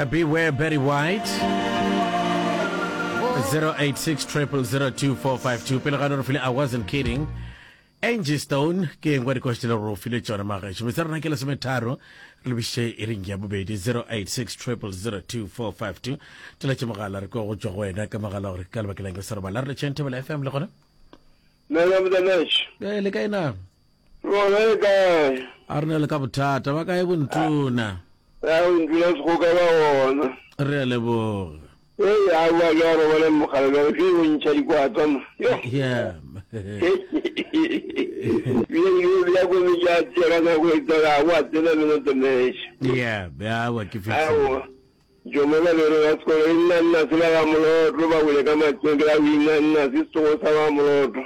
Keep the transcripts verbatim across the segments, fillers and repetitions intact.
Beware Betty White zero eight six triple zero two four five two. Pele ga re file I wasn't kidding. Angie Stone ke engwe dikoši le gore o file tšona magešo. Metsa rena ke lesometharo re lebiše iring ya bobedi zero eight six triple zero two four five two. Teletše mogala re kwa go tšwa go wena ka mogala gore ka lebaka lang ke sa robala. Re le tšheng Thobela F M le gona? Nna Motsamaiši. Eh, le kae na? Rona le kae? A re na le ka bothata ba kae bontona? A bontona segoka ba gona. Re a leboga. Ee, a bua ke a robale mogala bjale ke go ntšha dikwatsa mo. Yo. Yeah. Bile ke bja ko metša a tšea ka nako e tsela wa tsena le Motsamaiši. Yeah, ya wa ke fihlile. Aowa. Jomo ba lere ba sekolo e nna nna se ba ga Moloto ba wele ka matseng ke la o inna nna se setsogo sa ba Moloto.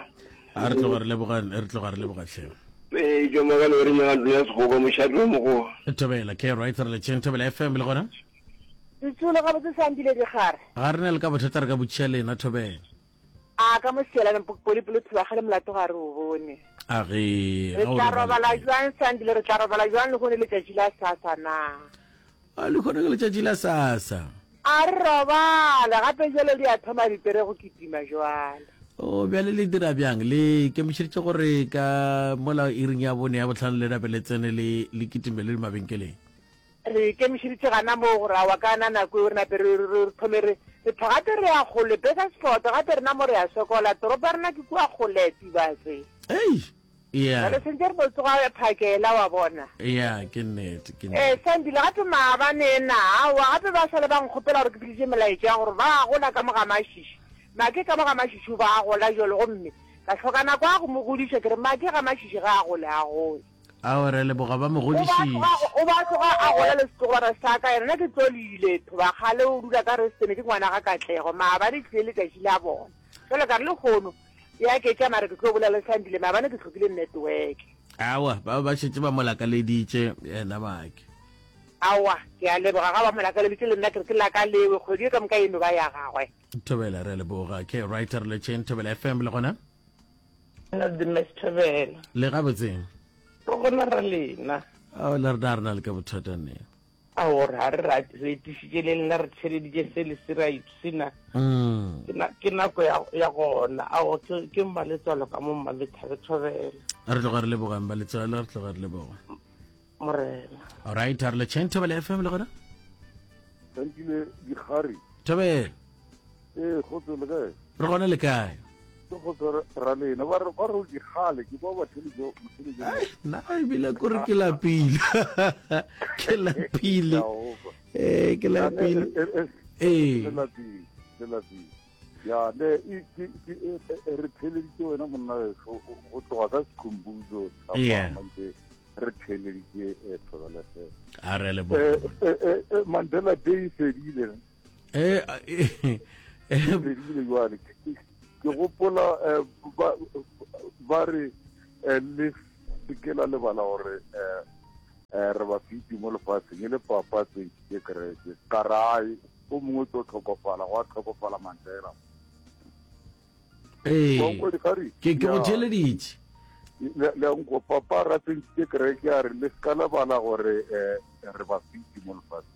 A re tloga re leboga, re tloga re leboga hle. Ee, Jomo ka lere nyaga ntlo ya segoka mošate wa mogoa. Thobela ke right re le tšeng Thobela F M le gona. Setsolo ga botse sandile digare. Ga re na le ka bothata re ka botšiša lena Thobela. A ka mo sielane poli pelo thoba gale molato ga re o bone. A ge Re tla robala jwang Sandile, re tla robala jwang le gone letšatši la sasa na? A le gone ke letšatši la sasa. A re robale gape jwale di a thoma dipere go kitima jwale. O bjale le dira bjang le kemišeditše gore ka mola iring ya bone ya bohlano le nape le tsene le le kitime le mabenkeleng? Re ikemišeditše gana moo gore aowa ka na nako eo re nape re re thome re re tho gape re ya kgole Bakersford gape rena mo re ya sokola toropo ya rena ke kua kgole Tubatse. Ei yeah. Jwale sentse re no tsoga phakela wa bona. Yeah ke nnete ke nnete. Eh Sandile gape maabane ena aowa gape ba sale ba nkgopela gore ke fetiše melaetša ya gore ba gola ka mo ga Mašiši. Make ka mo ga Mašiši o ba gola jwale gomme ka hloka nako ya go mo godiša ke re Make ga Mašiši ga a gole a gole. Ao re leboga ba mo godišitše. O ba tloga a gola le setlogolwana sa ka yena nna ke tlo le ile Thobakgale o dula ka Restene ke ngwana ga Katlego maabane tlile letšatši la bona jwale ka re lekgono ya ke tša mare ke tlo bolela le Sandile maabane ke hlokile network. Aowa ba ba šetše ba mo lakaleditše yena Make. Aowa ke a leboga ga ba mo lakaleditše le nna ke re ke lakalewe kgwedi e ka moka eno ba ya gagwe. Thobela re a leboga ke right re letšeng Thobela F M le gona. Nna the Miss Thobela. Le gabotseng. Re gona ra lena. Ao le rena re na le ka bothata ne. Ao re re ra re etišitše le lena re theleditše se le se ra ipsina. Mm. Ke na ke nako ya ya gona. Ao ke ke mmaletswalo ka mo mmalethabe Thobela. Re tloga re leboga mmaletswalo re tloga re leboga. Morena. All right, re le tšheng Thobela F M le gona. Thankile dikgare. Thobela. Eh, kgotso le kae? Re gona le kae? Ke kgotso ra lena ba re ba re dikgale ke ba ba theletše motheletše. Ai, nna ebile kore ke lapile. Ke lapile. Eh, ke lapile. Eh. Ke lapile, ke lapile. Ya ne e ke ke re theleditše wena monna weso go tloga ka Sikhumbuzo Yeah. re theleditše Thobela F M. A re leboga. Eh eh Mandela Day fedile. Eh eh fedile jwale. Ke gopola ba re le seke la lebala gore re ba fiti mo lefatsheng e le papa tsentšhitše kereke ka rae o mongwe tlo tlhokofala gwa tlhokofala Mandela. Ee, ke ke go theleditše. Le nko papa ra tsentšhitše kereke a re le seka lebala gore re ba fiti mo lefatsheng.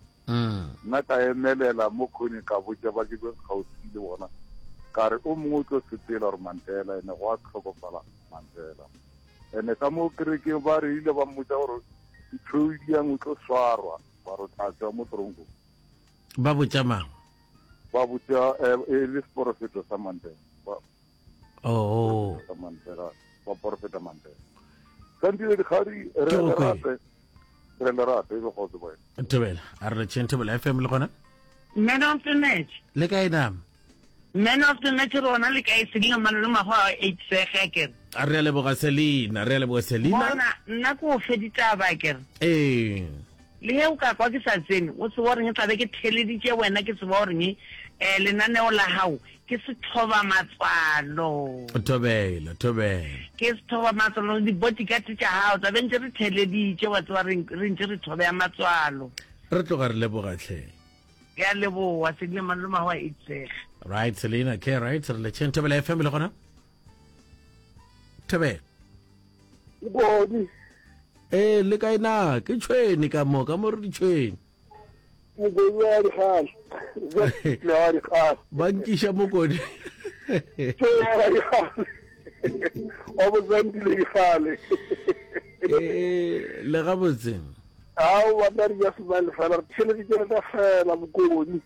Nna ka emelela mo khoneng ka botša ba ke kgauswi le bona ka re o mongwe o tlo sepela gore Mandela ene go a tlhokofala Mandela. Ene ka mo kerekeng ba re ile ba mmotša gore ditšhoediang o tlo swarwa ba re tla tswa mo toronkong. Ba botša mang? Ba botša e le seporofeto sa Mandela. Oh. Sa Mandela, ba porofeta Mandela. Santile dikgadi re le rate. Re le rate e be kgotso boy. Thobela, a re le tšheng Thobela F M le gona? Man of the match. Le kae na? Man of the match rona le kae Selina Malolo Mago a eight sege kere. A re a leboga Selina, re a leboga Selina. Bona nna ko fe ditaba kere. Eh. Le he o ka kwa ke sa tsene, o tseba gore tla be ke theleditše wena ke tseba gore eh lenaneo la hao ke sethoba matswalo. Thobela, thobela. Ke sethoba matswalo di bodyguard tša hao tla be ntse re theleditše wa tseba re ntse re thobe matswalo. Re tloga re leboga hle. Ya leboga Selina Malolo Mago a eight sege. Right Selina, ke right re le tšheng Thobela F M le gona. Thobela. Bodi. Eh le kae na ke tšhweni ka mo ka mo re ditšhweni. Mokodi wa dikgale. Wa dikgale. Ba nkiša mokodi. Wa dikgale. Wa bozantile dikgale. Eh, le gabotse. Ao ba tla re ja sebale fela re theleditše re tla fela bokoni.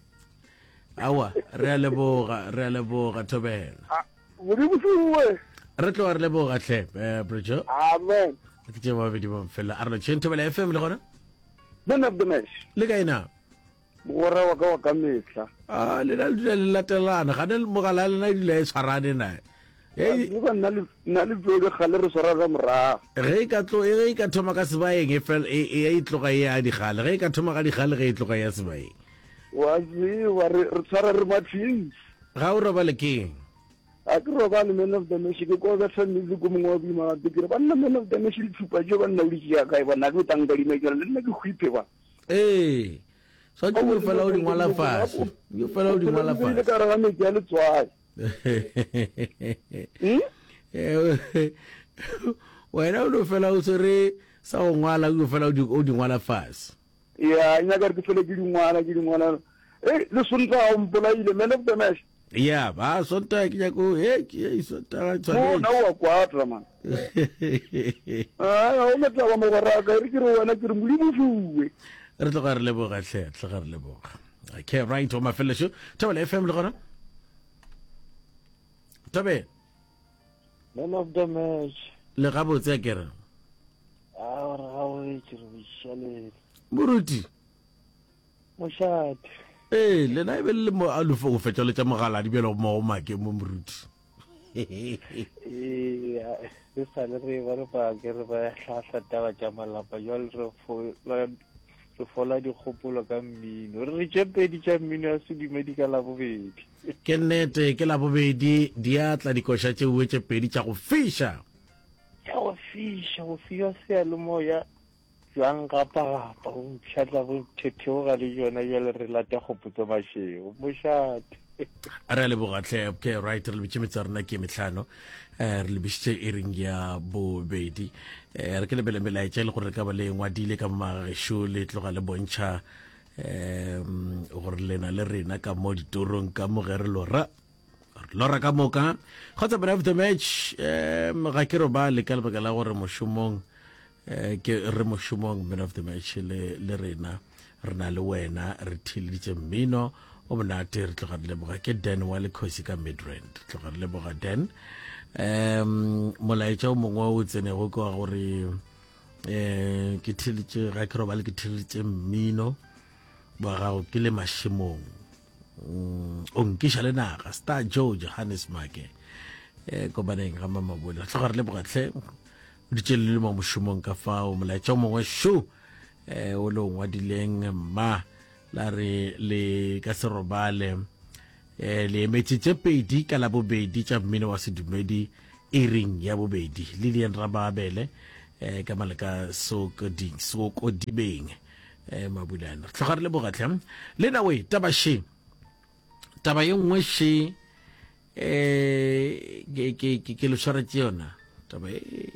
Awa, re a leboga, re a leboga Thobela. Modimo fiwe. Re tloga re leboga hle, eh Bro. Amen. Ke tše babedi ba mfela. A re tšheng Thobela F M le gona? Man of the match. Le kae na? Mogwera wa ka wa ka mehla. Ah, le na le dula le latelana. Ga ne mogala le na dula e tshwarane na. Hey, nna le nna le pele gale re swara ka morago. Ge e ka tlo ge e ka thoma ka sebaeng e fel e e tloga e ya digale. Ge e ka thoma ka digale ge e tloga ya sebaeng. Wa tseba re re tshwara re matšhins. Ga o robale keng? A ke robale man of the match ke kwa betha music o mongwe wa boima gape ke re banna man of the match le tshupa jo banna o di tšea kae banna ke o tanka di mekela le nna ke hwiphe ba. Ee. Swantse o fela o di ngwala fase. O fela o di ngwala fase. Ke ka re ga metsi a letswai. Wena o no fela o swere sa go ngwala o fela o di ngwala fase. Ya, nyaka re ke fele ke di ngwala ke di ngwala. Eh, le Sontaga o mpolaile man of the match. Ya, ba Sontaga ke nyako eh ke Sontaga tshwanetse. Mo na wa kwatra man. Ah, o metla ba mogwera ka re ke re wena ke re Modimo fiwe. Re tloga re leboga hle, tloga re leboga. Okay, right, o mafelesho. Thobela F M le gona? Thabe. Man of the match. Le gabotse a kere. Ah, re gabotse re bošalele. Moruti. Mošate. Ee, lena e be le mo a lofo go fetša le tša mogala di bjalo mo go make mo moruti. Ee, re sa le re ba re ba ke re ba hlahla taba tša malapa jwale re fola re fola dikgopolo ka mmino. Re re tše pedi tša mmino ya sedumedi ka Labobedi. Ke nnete ke Labobedi di a tla dikoša tše uwe tše pedi tša go fiša. Tša go fiša, go fiwa seyalemoya jwang gapa-gapa go mpšhatla go thetheoga le jona jwale re lata kgopotso mašego mošate. Re a leboga hle. Okay, right, re lebitše metsa rena ke mehlano. Eh, re lebišitše iring ya bobedi. Eh, re ke lebele melaetša e le gore re ka ba le ngwadile ka magešo le tloga le bontšha um gore lena le rena ka mo ditorong ka mo ge re lora. Re lora ka moka. Kgotsa man of the match, um ga ke robale ka lebaka la gore mošomong eh ke re mošomong man of the match le le rena re na le wena re theeleditše mmino o monate re tloga re leboga ke Dan wa Lekgosi ka Midrand re tloga re leboga Dan. Um molaetša o mongwe o tsenego ke wa gore eh ke theeleditše ga ke robale ke theeleditše mmino wa gago ke le mašemong o nkiša le naga Star Joe Johannes Make eh kopaneng ga Mamabole re tloga re leboga hle o ditše le mo mošomong ka fao. Molaetša o mongwe šo eh o le o ngwadileng mma la re le ka se robale eh le emetše tše pedi ka Labobedi tša mmino wa sedumedi iring ya bobedi Lilian Rababele eh ka maleka sokoding sokodibeng eh Mabulana. Re tloga re leboga hle le na we taba she taba ye nngwe she eh ke ke ke le tshwaretse yona taba e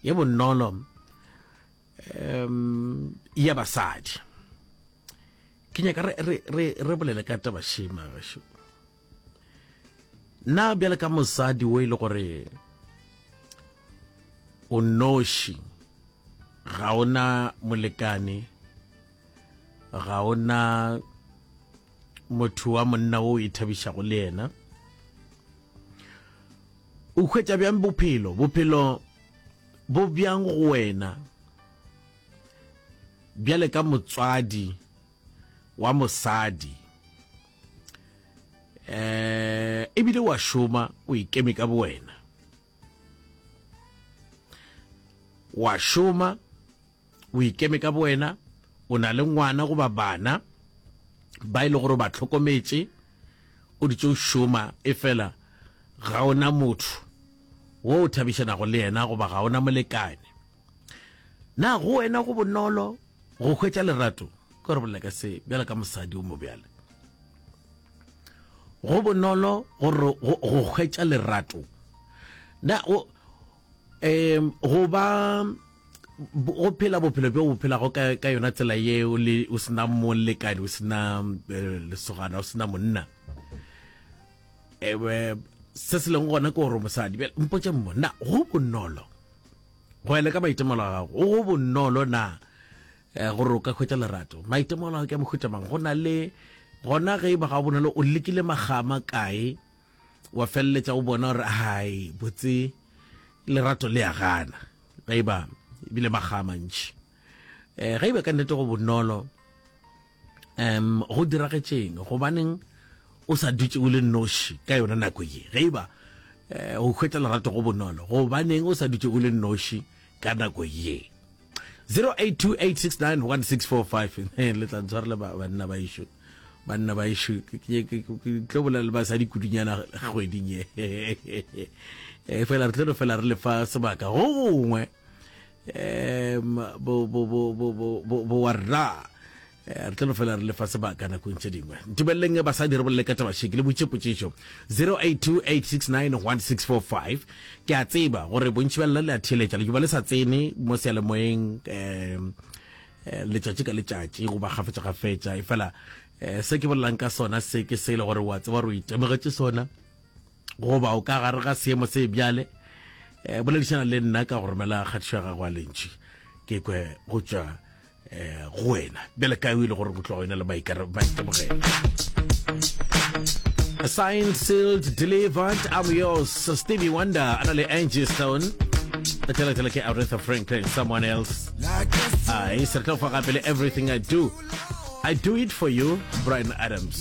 ye bonolo um ya basadi. Ke nyaka re re re re bolele ka taba shema gešo. Nna bjale ka mosadi o e le gore o noši, ga ona molekane, ga ona motho wa monna o ithabišago le yena, o hwetša bjang bophelo? Bophelo bo bjang go wena bjale ka motswadi wa mosadi eh ebile wa šoma o ikeme ka bowena, wa šoma o ikeme ka bowena, o na le ngwana goba bana ba e le gore ba tlhokometše, o ditše o šoma e fela ga ona motho wo o thabišanago le yena goba ga ona molekane. Na go wena go bonolo go hwetša lerato? Ke re bolela ka se bjale ka mosadi o mo bjale. Go bonolo go go hwetša lerato. Na o em go ba Go phela bophelo bjo o phelago ka, ka yona tsela ye o le o sena molekane, o sena eh, lesogana, o sena monna. Ewe se se leng gona ke gore mosadi. Bjale mpotše mmo, na go bonolo go ela ka maitemogelo a gago, go bonolo na eh, gore o ka hwetša lerato? Maitemogelo a gago ke a mohuta mang? Go na le gona ge e ba ga bonolo o lekile magama kae wa feleletša o bona gore hai botse lerato le a gana ge e ba ebile makga a mantši um ge e ba ka nnete go bonolo um go diragetšeng gobaneng o sa dutše o le noši ka yona nako ye ge e ba um go hwetša lerato go bonolo gobaneng o sa dutše o le noši ka nako ye zero eight two eight six nine one six four five le tla ntshwarela banna ba ešo banna ba ešo ke tlo bolela le basadi kudunyana kgweding ye e fela re tlo no fela re lefa sebaka go gongwe um bo bo bo bo bo bo wa rra eh, re tlo no fela re lefa sebaka nakong tše dingwe. Ntumeleleng basadi re bolele ka taba še, ke le botše potšišo zero eight two eight six nine one six four five. Ke a tseba gore bontši bja lena le a theeletša, le ba le sa tsene mo seyalemoyeng um letšatši ka letšatši goba kgafetša-kgafetša, efela um se ke bolelang ka sona se ke se e le gore wa tseba gore o itemogetše sona goba o ka gare ga seemo se bjale. Um boledišana le nna ka go romela kgatišo ya gago ya lentši ke kwe go tšwa eh, go wena bjale ka o ile gore go tloga wena le maitemogelo. Signed, sealed, delivered, I'm yours. Stevie Wonder, a na le Angie Stone. Tela ke Aretha Franklin, someone else. Ai, se re tlo fa gape le Everything I Do. I Do It For You, Bryan Adams.